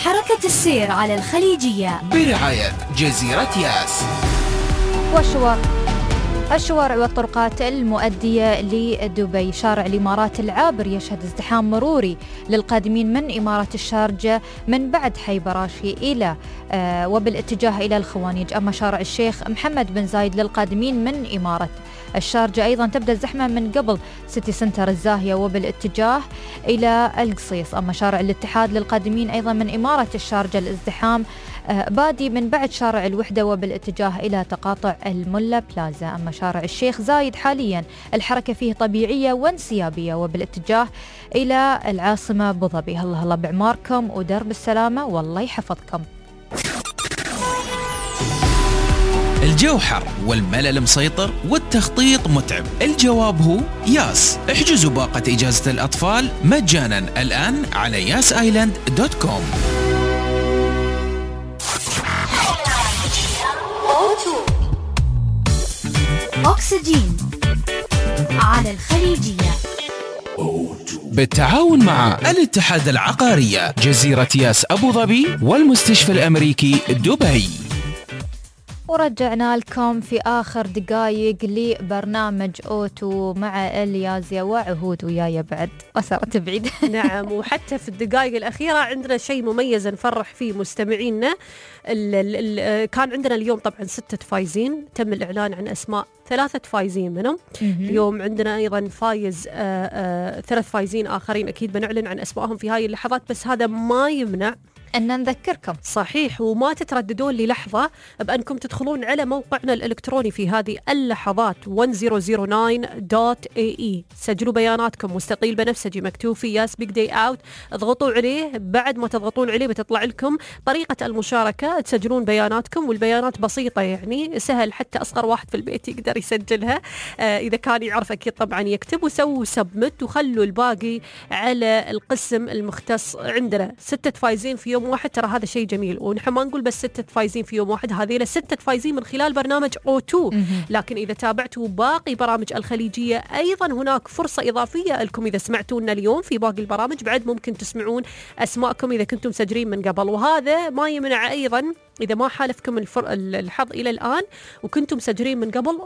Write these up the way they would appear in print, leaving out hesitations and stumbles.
حركة السير على الخليجية برعاية جزيرة ياس. الشوارع والطرقات المؤدية لدبي. شارع الإمارات العابر يشهد ازدحام مروري للقادمين من إمارة الشارجة من بعد حي براشي إلى وبالاتجاه إلى الخوانيج. أما شارع الشيخ محمد بن زايد للقادمين من إمارة الشارجة أيضا تبدأ الزحمة من قبل سيتي سنتر الزاهية وبالاتجاه إلى القصيص. أما شارع الاتحاد للقادمين أيضا من إمارة الشارجة الازدحام بادي من بعد شارع الوحدة وبالاتجاه إلى تقاطع الملا بلازا. أما شارع الشيخ زايد حاليا الحركة فيه طبيعية وانسيابية وبالاتجاه إلى العاصمة أبو ظبي. الله بعماركم ودرب السلامة والله يحفظكم. الجو حر والملل مسيطر والتخطيط متعب. الجواب هو ياس. احجزوا باقة إجازة الأطفال مجانا الآن على yasisland.com. أكسجين على الخليجية بالتعاون مع الاتحاد العقارية جزيرة ياس أبو ظبي والمستشفى الأمريكي دبي. ورجعنا لكم في آخر دقايق لبرنامج أوتو مع اليازيا وعهود ويايا بعد وصارت بعيد. نعم، وحتى في الدقايق الأخيرة عندنا شيء مميز نفرح فيه مستمعينا. كان عندنا اليوم طبعا 6 فايزين، تم الإعلان عن أسماء 3 فايزين منهم. اليوم عندنا أيضا فايز 3 فايزين آخرين أكيد بنعلن عن أسمائهم في هاي اللحظات، بس هذا ما يمنع أن نذكركم صحيح وما تترددون للحظة بأنكم تدخلون على موقعنا الإلكتروني في هذه اللحظات 1009.ae. سجلوا بياناتكم مستقيل بنفسجي مكتوب في ياس بيج داي أوت، اضغطوا عليه. بعد ما تضغطون عليه بتطلع لكم طريقة المشاركة، تسجلون بياناتكم والبيانات بسيطة يعني سهل حتى أصغر واحد في البيت يقدر يسجلها. إذا كان يعرف أكيد طبعا يكتب، وسووا سبمت وخلوا الباقي على القسم المختص. عندنا 6 فايزين في يوم واحد، ترى هذا شيء جميل، ونحن ما نقول بس 6 فايزين في يوم واحد، هذه 6 فايزين من خلال برنامج O2. لكن إذا تابعتوا باقي برامج الخليجية أيضا هناك فرصة إضافية لكم. إذا سمعتونا اليوم في باقي البرامج بعد ممكن تسمعون أسماءكم إذا كنتم مسجلين من قبل، وهذا ما يمنع أيضا إذا ما حالفكم الحظ إلى الآن وكنتم مسجلين من قبل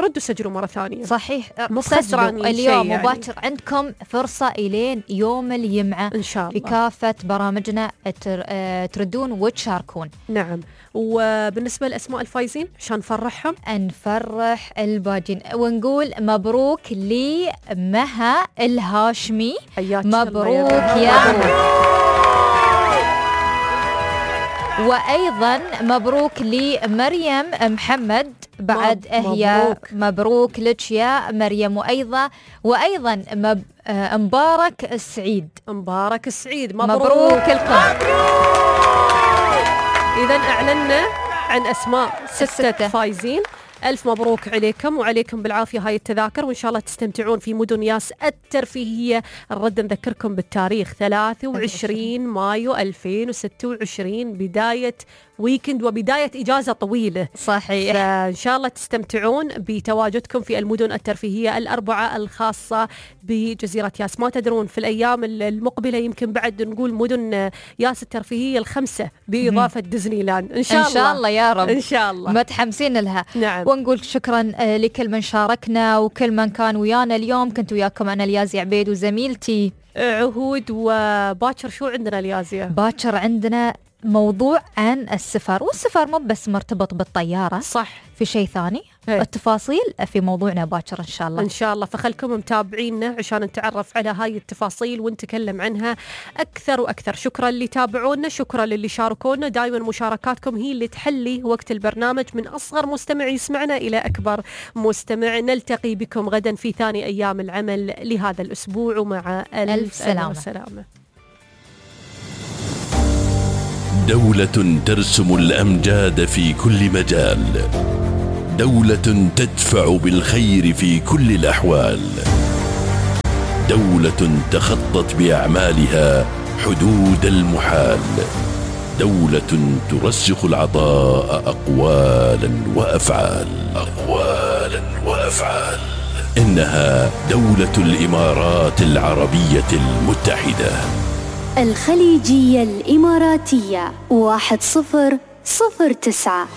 ردوا سجلوا مرة ثانية. صحيح، سجلوا اليوم مباشر يعني. عندكم فرصة إلين يوم الجمعة إن شاء الله في كافة برامجنا تردون وتشاركون. نعم، وبالنسبة لأسماء الفايزين عشان نفرحهم نفرح الباجين ونقول مبروك لمها الهاشمي. مبروك يا وأيضا مبروك لمريم محمد بعد مبروك لك يا مريم. وأيضا مبارك السعيد مبروك لكم. إذا أعلنا عن أسماء 6 فايزين. ألف مبروك عليكم وعليكم بالعافية هاي التذاكر، وإن شاء الله تستمتعون في مدن ياس الترفيهية. نرد نذكركم بالتاريخ 23 مايو 2026 بداية ويكند وبداية إجازة طويلة. صحيح، فإن شاء الله تستمتعون بتواجدكم في المدن الترفيهية الأربعة الخاصة بجزيرة ياس. ما تدرون في الأيام المقبلة يمكن بعد نقول مدن ياس الترفيهية ال5 بإضافة ديزني لاند إن شاء الله يا رب، إن شاء الله متحمسين لها. نعم، ونقول شكرا لكل من شاركنا وكل من كان ويانا اليوم. كنت وياكم أنا اليازي عبيد وزميلتي عهود. وباكر شو عندنا اليازية؟ باكر عندنا موضوع عن السفر، والسفر مو بس مرتبط بالطيارة، صح، في شيء ثاني. التفاصيل في موضوعنا باكر إن شاء الله. فخلكم متابعينا عشان نتعرف على هاي التفاصيل ونتكلم عنها أكثر وأكثر. شكرا اللي تابعونا، شكرا للي شاركونا. دائما مشاركاتكم هي اللي تحلي وقت البرنامج من أصغر مستمع يسمعنا إلى أكبر مستمع. نلتقي بكم غدا في ثاني أيام العمل لهذا الأسبوع، ومع ألف سلامة. دولة ترسم الأمجاد في كل مجال، دولة تدفع بالخير في كل الأحوال، دولة تخطت بأعمالها حدود المحال، دولة ترسخ العطاء أقوالا وأفعال. إنها دولة الإمارات العربية المتحدة. الخليجية الإماراتية 1009.